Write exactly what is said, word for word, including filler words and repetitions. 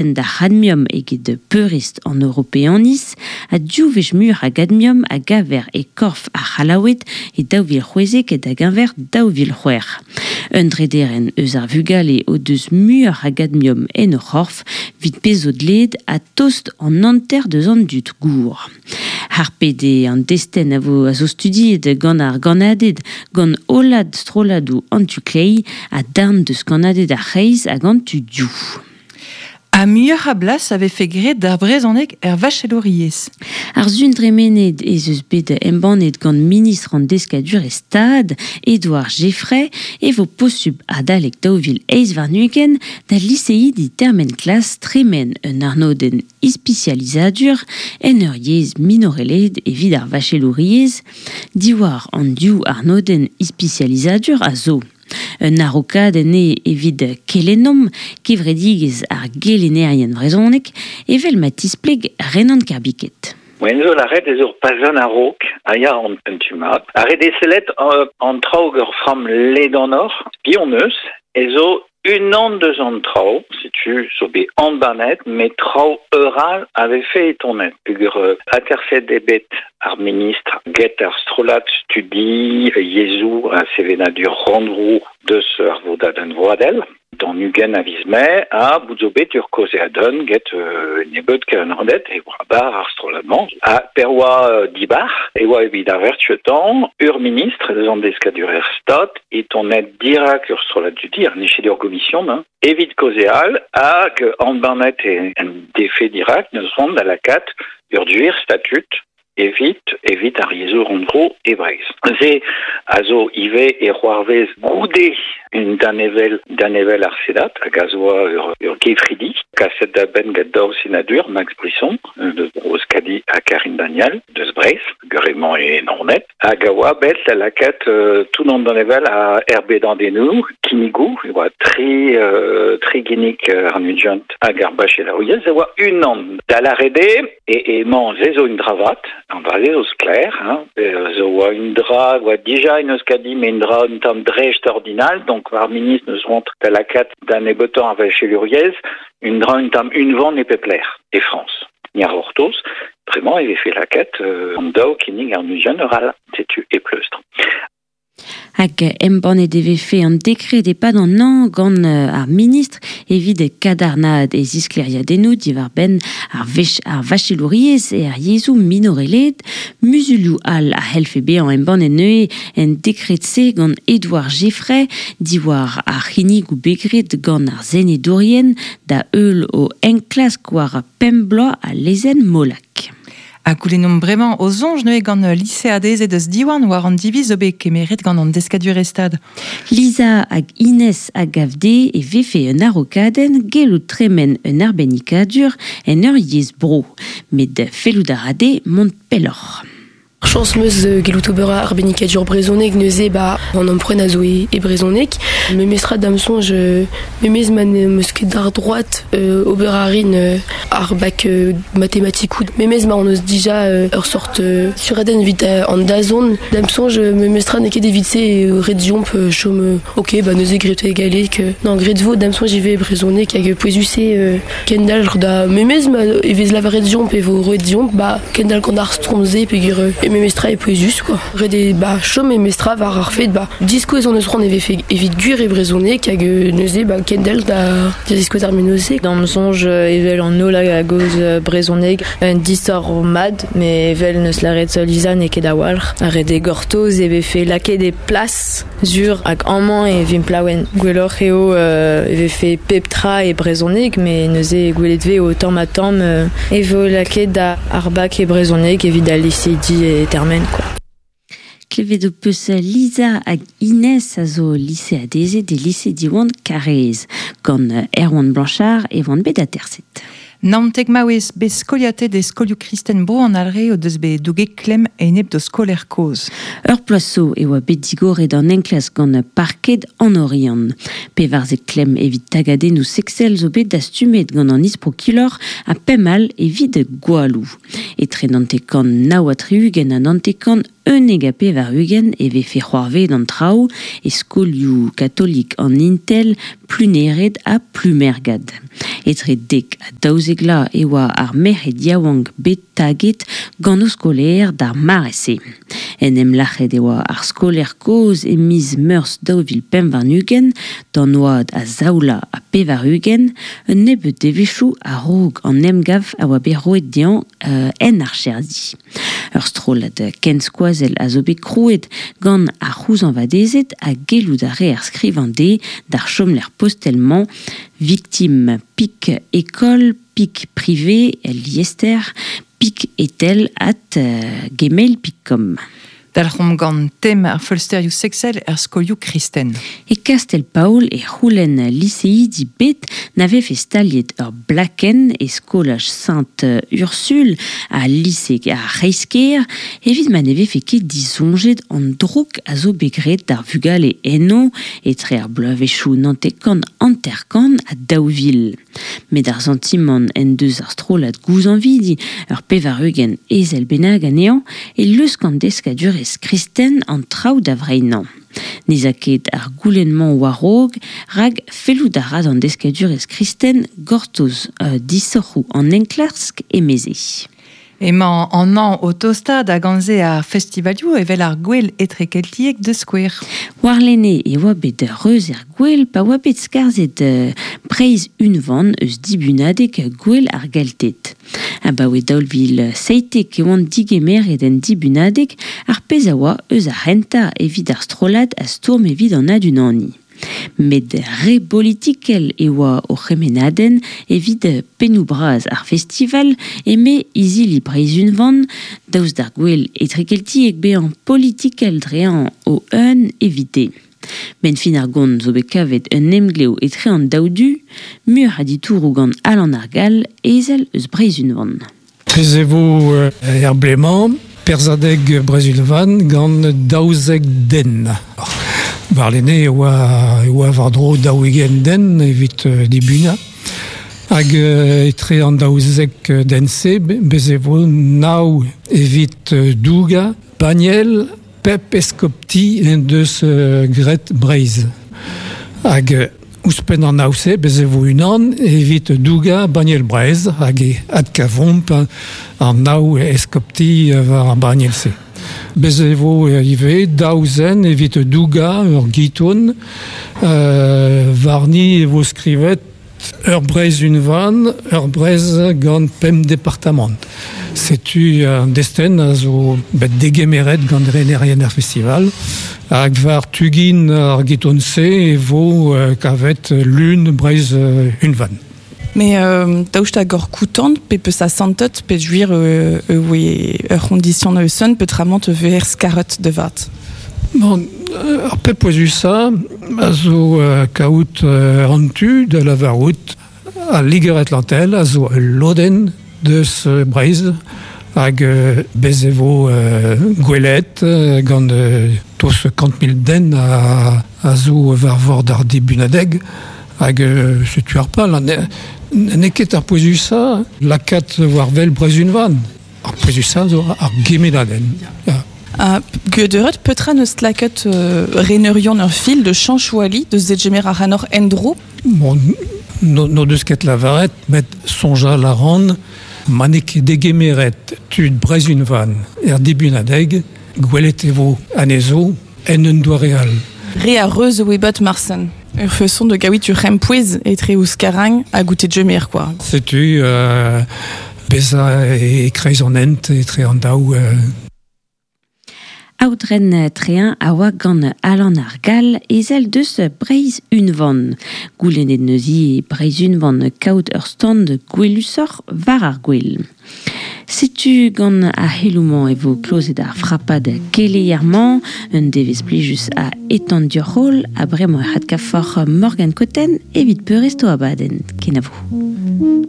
D'ar c'hadmiom eget peurrest an Europeaniz ha div wech muioc'h a gadmiom a gaver e korf ar C'hallaoued e daou vil c'hwezek da geñver daou vil c'hwec'h. Un drederenn eus ar vugale o deus muioc'h a gadmiom en o c'horf evit pezh zo dleet ha tost an hanter deus an dud gour. Harpet eo an destenn a vo a zo studiet gant ar gannaded gant hollad strolladoù an tu kleiz ha darn deus kannaded ar c'hreiz hag an tu dioù. Ha muioc'h a blas a vefe graet d'ar brezhoneg er vachelouriezh. Ar sun dremenet ez eus bet embannet gant ministr an deskadurezh Stad, Edouard Geffray, e vo posubl adalek daou vil eizh warn-ugent da liseidi termen klas tremen un arnodenn ispisializadur en ur yezh minorelaet evit ar vachelouriezh diwar an div arnodenn ispisializadur a zo. Un araokadenn eo evit Kelennomp, kevredigezh ar gelennerien vrezhonek, evel ma tispleg Renan Kerbiket. Moen zo lâret ez ur pazenn a-raok a ya an un tu mat. Ar re desellet an traoù ur framm ledanoc'h, piv eus, ez zo unan deus an traoù, setu zo bet embannet, met traoù eural a vefe etonet. Peogwir aterset eo bet ar ministr get ar strollad studi yezhoù ha sevenadur rannvro deus ar vodadenn vroadel. D'an ugent a viz Mae ha bout zo bet ur kaozeadenn get euh, nebeud kannaded e oa bar ar strollad-mañ. Ha per oa euh, dibar e oa evit ar vertuetan ur ministr deus an deskadurezh Stad e tonet dirak ur strollad studi ar n'eo ket ur gomision hein. Evit kaozeal hag embannet e en defe dirak neus c'hoant da lakaat ur duer statut evit evit ar yezhoù rannvro e Breizh. Se a zo ivez e c'hoarvez goude un danevell danevell ar Sedat hag a zo ur, ur gefridi kaset da benn gant daou senadur Max Brisson deus Bro-Euskadi ha Karine Daniel deus Breizh guremañ e Naoned hag a oa bet da lakaat euh, tout an danevell a erbedadennoù kinnigoù e oa tri euh, tri ginnig euh, an ugent hag ar bachelouriezh e oa unan da lâret eo e emañ se zo un dra vat an dra se zo sklaer hein, zo oa un dra oa dija en Euskadi met un dra un tamm dreist-ordinal donc ar ministr neus c'hoant da lakaat da nebeutañ ar vachelouriezh un dra un tamm unvan e pep lec'h e Frañs. Ni ar c'hortoz, bremañ e vefe lakaat euh, an daou kinnig ar ugent eur all, setu e pleustr. Hag embannet e vefe an dekred e-pad an hañv gant ar ministr evit kadarnaat e zisklêriadennoù diwar-benn ar wech ar vachelouriezh e ar yezhoù minorelaet muzulioù all a c'hellfe bezañ embannet neuze en dekred-se gant Edouard Geffray diwar ar c'hinnigoù bet graet gant ar senedourien da heul o enklask war pemp bloaz a lezenn Molac. Ha goulennomp bremañ o soñj neuze gant liseadezed eus Diwan war an diviz zo bet kemeret gant an deskadurezh Stad. Lisa hag Inès a gav dezhe e vefe un araokadenn gellout tremen un arbennikadur en ur yezh bro. Met fellout a ra dezhe mont pelloc'h. Chañs 'meus gellout ober arbennikadur brezhoneg neuze ba an emprunt a zo e, e brezhoneg. Memestra da'm soñj memez ma n'em eus ket d'ar droad euh, ober a rin euh, ar bak euh, matematikoù. Memez ma on eus dija euh, ur sort euh, suradenn evit an dazont. Da'm soñj memestra n'eo ket evit se euh, ret deomp euh, chom euh, ok ba neuze graet e galleg. Euh, non graet vo da'm soñj ivez brezhoneg hag pouezus eo euh, kendalc'h da memez ma e vez lavaret deomp e vo roet deomp ba kendalc'h gant ar strom-se peogwir euh, e memestra e pouezus quoi. Ret eo ba chom memestra war ar fed ba diskouez on eus c'hoant e vefe evit gwir e brezhoneg hag neuze ba kendalc'h da da diskouez ar menoz-se. Da'm soñj evel an holl a gaoz brezhoneg un disoc'h mat met evel neus lâret Lisa n'eo ket a-walc'h. Ar ret eo gortoz e vefe lakaet e plas sur hag amañ e vimp laouen. Gwelloc'h eo euh, e vefe pep tra e brezhoneg met neuze gwelet vez o tamm ha tamm euh, e vo lakaet da ar bak e brezhoneg evit al liseidi e termen quoi. Klevet ho peus Lisa hag Inès a zo liseadezed e lise Diwan Karaez. Gant Erwan Blanchard e oant bet aterset. Naontek maouez bet skoliatet e skolioù kristen bro an alre o deus bet douget klemm enep do skoler kozh. Ur ploaz zo e oa bet digoret an enklask gant parked an Oriant. Pevarzek klemm evit tagadennoù sexel zo bet dastumet gant an isprokilor ha pemp all evit gwalloù. Etre naontek kant nav ha tri-ugent ha naontek kant unnek ha pevar-ugent e vefe c'hoarvezet an traoù e skolioù katolik an Intel, Plunered ha Plumergad. Etre dek ha daouzek vloaz e oa ar merc'hed yaouank bet taget gant o skolaer d'ar mare-se. En em lac'het e oa ar skolaer kozh e miz Meurzh daou vil pemp warn-ugent, d'an oad a zaou vloaz ha pevar-ugent, un nebeud devezhioù a-raok an emgav a oa bet roet dezhañ euh, en archerdi. Ur strollad kenskoazell a zo bet krouet gant ar c'houzañvadezed ha gellout a reer skrivañ dezhe d'ar chomlec'h postel-mañ victime pic école pic privé liester pic etel at gmail pic com. Dalc'homp gant tem ar feulsterioù sexel er skolioù kristen. E Kastell-Paol e c'houlenn liseidi bet na vefe staliet ur blakenn e skolaj Sainte-Ursule ha lise ar C'hreisker evit ma ne vefe ket disoñjet an drouk a zo bet graet d'ar vugale eno etre ar bloavezhioù naontek kant hanter-kant ha daou vil. Met ar santimant en deus ar strollad gouzañvidi ur pevar-ugent ezel bennak anezhañ e lusk an deskadurezh kristen an traoù da vreinañ. N'ez a ket ar goulenn-mañ war-raok, rak fellout a ra d'an deskadurezh kristen gortoz euh, disoc'hoù an enklask emeze. Emañ an hañv o tostaat hag gant-se ar festivalioù evel ar gwel etrekeltiek de skouer. Warlene e oa bet reuz er gwel pa oa bet skarzhet euh, Breizh unvan eus dibunadeg gwel ar Gelted. Abaoe daou vil seitek e oant digemeret en dibunadeg ar pezh a oa eus ar c'hentañ evit ar strollad a stourm evit an adunaniñ. Met re bolitikel e oa o c'hemennadenn evit pennoù bras ar festival eme izili Breizh unvan, daoust d'ar gwel etrekeltiek bezañ politikel dre-añ o un evite. Ben fin ar gont zo bet kavet un emglev etre an daou du, mur a ditouroù gant Alan ar Gall, ezel eus Breizh unvan. Prez e vo er blez-mañ, perzhadeg Breizh unvan gant daouzek den. Warlene e oa, e oa war-dro daou-ugent den evit euh, dibunañ. Hag euh, etre an daouzek den-se, bez e vo nav evit euh, dougañ, banniel, pep eskopti en deus euh, graet Breizh. Hag euh, ouzhpenn an nav-se, bez e vo unan evit dougañ banniel Breizh hag e adkavomp an nav eskopti war ar banniel-se. Bez e vo ivez daou zen evit dougañ ur giton, euh, warni e vo skrivet ur Breizh unvan, ur Breizh gant pemp departamant. Setu an destenn a zo bet degemeret gant renerien ar festival. Hag war tugin ar giton-se e vo euh, kavet lun Breizh unvan. Mais euh, daoust hag ur koutant pe peus a santet pe juir euh, euh, oe ur c'hondition eus son peotramant veer skaret de vat. Bon, ar pep pouezusañ a zo euh, kaout euh, an tu da lavarout al Liger Atlantel a zo ul lodenn deus euh, Breizh hag euh, bez e vo euh, gwelet euh, gant euh, tost kant mil den a, a zo war vord ar dibunadeg hag euh, setu ar pal an n'eo ket ar pouezusañ lakaat war wel Breizh unvan. Ar pouezusañ zo ar gemennadenn. Ya. Uh, Gweuret petra neus lakaet euh, reneurion ur fil de chanchouali de zegemer ar anor endro. Bon, no, no deus ket lavaret, met soñjal a ran, ma n'eo ket degemeret tud Breizh unvan er dibunadeg, gwelet e vo anezho en un doare all. Re a reuz oe bet marsen. Ur feson de gaouit ur c'hempouez etre ouzh karang ha goutet jemer, quoi. Setu euh, bezañ e kreiz an hent etre an daou. Euh, Aodren Trein a oa gant Alan ar Gall ezel deus Breizh unvan. Goulennet neuze Breizh unvan kaout ur stand gwelusoc'h war ar gwel. Setu gant ar c'heloù-mañ e vo klozet ar frapad keleier-mañ, un devezh plijus a etan dioc'h ha bremañ e c'hadkavoc'h Morgane Cotten evit peurrest o abadenn. Kenavo.